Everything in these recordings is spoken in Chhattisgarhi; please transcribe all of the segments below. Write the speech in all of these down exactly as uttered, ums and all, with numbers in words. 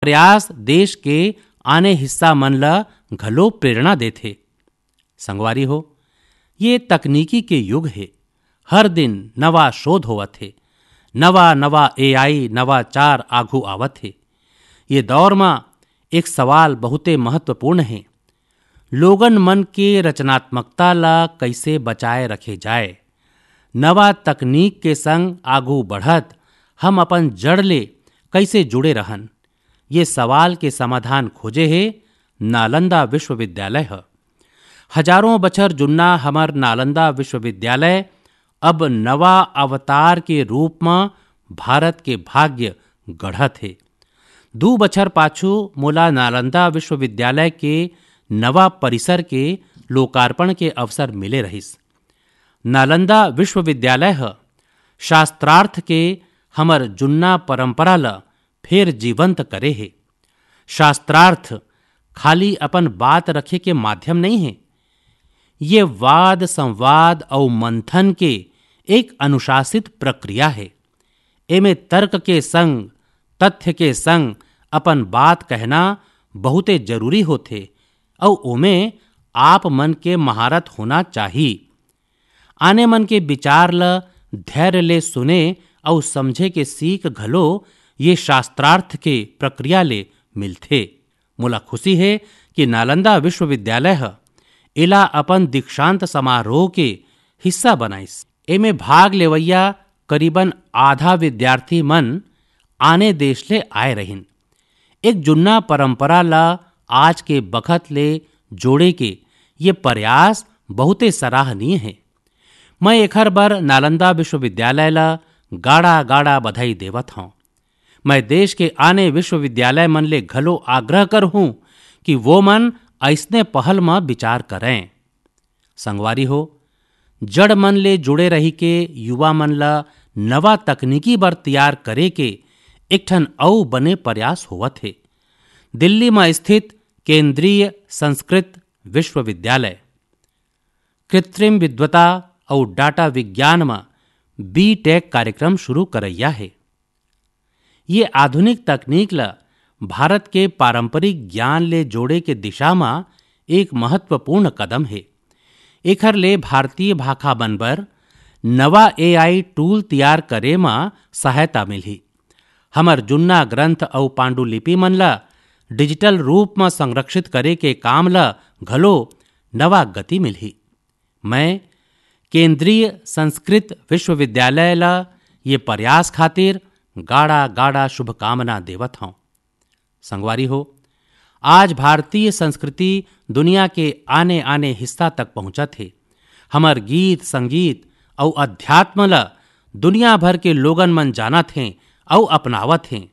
प्रयास देश के आने हिस्सा मन ल घलो प्रेरणा देथे। संगवारी हो, ये तकनीकी के युग हे। हर दिन नवा शोध होवत हे, नवा-नवा ए आई नवाचार आघू आवत हे। ये दौर म एक सवाल बहुते महत्वपूर्ण हे, लोगन मन के रचनात्मकता ला कइसे बचाए रखे जाए? नवा तकनीक के संग आगू बढ़त हम अपन जड़ ले कइसे जुड़े रहन? ये सवाल के समाधान खोजे हे नालंदा विश्वविद्यालय ह। हजारों बछर जुन्ना हमर नालंदा विश्वविद्यालय अब नवा अवतार के रूप म भारत के भाग्य गढ़त हे। दू बछर पाछू मोला नालंदा विश्वविद्यालय के नवा परिसर के लोकार्पण के अवसर मिले रहिस। नालंदा विश्वविद्यालय ह शास्त्रार्थ के हमर जुन्ना परंपरा ल फेर जीवंत करे हे। शास्त्रार्थ खाली अपन बात रखे के माध्यम नइ हे, ये वाद संवाद अउ मंथन के एक अनुशासित प्रक्रिया हे। एमे तर्क के संग, तथ्य के संग अपन बात कहना बहुते जरूरी होथे, अउ ओमे आप मन के महारत होना चाही। आने मन के विचार ल धैर्य ले सुने अउ समझे के सीख घलो ये शास्त्रार्थ के प्रक्रिया ले मिलथे। मोला खुशी हे कि नालंदा विश्वविद्यालय ह एला अपन दीक्षांत समारोह के हिस्सा बनाइस। एमे भाग लेवइया करीबन आधा विद्यार्थी मन आने देश ले आए रहिन। एक जुन्ना परंपरा ला आज के बखत ले जोड़े के ये प्रयास बहुते सराहनीय हे। मैं एखर बर नालंदा विश्वविद्यालय ला गाड़ा-गाड़ा बधाई देवत हौं। मैं देश के आने विश्वविद्यालय मन ले घलो आग्रह करहूं कि वो मन अइसने पहल म विचार करें। संगवारी हो, जड़ मन ले जुड़े रहिके युवा मन ला नवा तकनीकी बर तैयार करे के एक ठन अउ बने प्रयास होवत हे। दिल्ली म स्थित केंद्रीय संस्कृत विश्वविद्यालय कृत्रिम विद्वता अउ डाटा विज्ञान म बी टेक कार्यक्रम शुरू करइया हे। ये आधुनिक तकनीक ल भारत के पारंपरिक ज्ञान ले जोड़े के दिशा म एक महत्वपूर्ण कदम हे। एखर ले भारतीय भाखा मन बर नवा ए आई टूल तैयार करे म सहायता मिलही। हमर जुन्ना ग्रंथ अउ पांडुलिपि मन ल डिजिटल रूप म संरक्षित करे के काम ल घलो नवा गति मिलही। मैं केंद्रीय संस्कृत विश्वविद्यालय ल ये प्रयास खातिर गाड़ा-गाड़ा शुभकामना देवत हौं। संगवारी हो, आज भारतीय संस्कृति दुनिया के आने-आने हिस्सा तक पहुंचत हे। हमर गीत, संगीत अउ अध्यात्म ल दुनिया भर के लोगन मन जानत हें अउ अपनावत हें।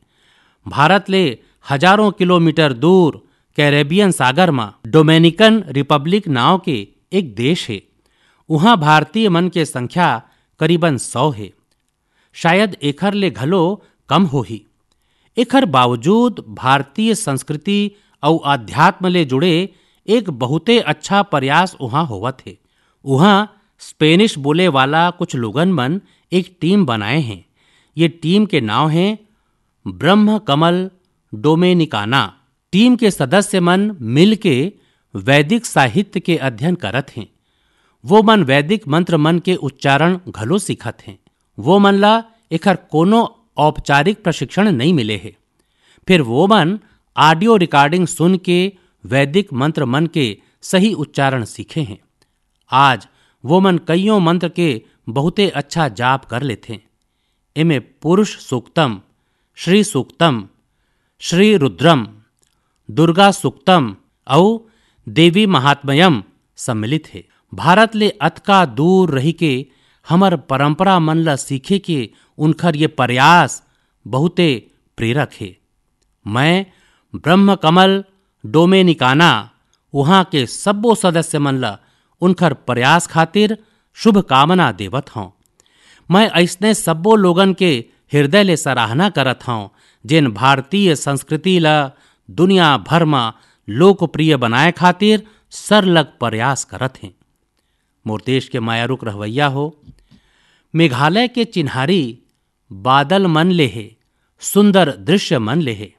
भारत ले हजारों किलोमीटर दूर कैरेबियन सागर म डोमिनिकन रिपब्लिक नांव के एक देश हे। उहां भारतीय मन के संख्या करीबन सौ हे। शायद एखर ले घलो कम होही। एखर बावजूद भारतीय संस्कृति अउ अध्यात्म ले जुड़े एक बहुते अच्छा प्रयास उहां होवत हे। उहां स्पेनिश बोले वाला कुछ लोगन मन एक टीम बनाए हें। ये टीम के नांव हे ब्रह्म कमल डोमेनिकाना। टीम के सदस्य मन मिलके वैदिक साहित्य के अध्ययन करत हें। वो मन वैदिक मंत्र मन के उच्चारण घलो सीखत हें। वो मन ला एखर कोनो औपचारिक प्रशिक्षण नइ मिले हे। फिर वो मन ऑडियो रिकॉर्डिंग सुन के वैदिक मंत्र मन के सही उच्चारण सीखे हें। आज वो मन कइयों मंत्र के बहुते अच्छा जाप कर लेथें। एमे पुरुष सूक्तम, श्री सूक्तम, श्री रुद्रम, दुर्गा सूक्तम अउ देवी महात्म्यम सम्मिलित हे। भारत ले अतका दूर रहिके हमर परंपरा मन ल सीखे के उनखर ये प्रयास बहुते प्रेरक हे। मैं ब्रह्म कमल डोमेनिकाना, उहां के सब्बो सदस्य मन ल उनखर प्रयास खातिर शुभकामना देवत हौं। मैं अइसने सब्बो लोगन के हृदय ले सराहना करत हौं, जेन भारतीय संस्कृति ल दुनिया भर म लोकप्रिय बनाए खातिर सरलग प्रयास करत हें। मोर देश के मयारुक रहवैया हो, मेघालय के चिन्हारी बादल मन ले हे, सुंदर दृश्य मन ले हे।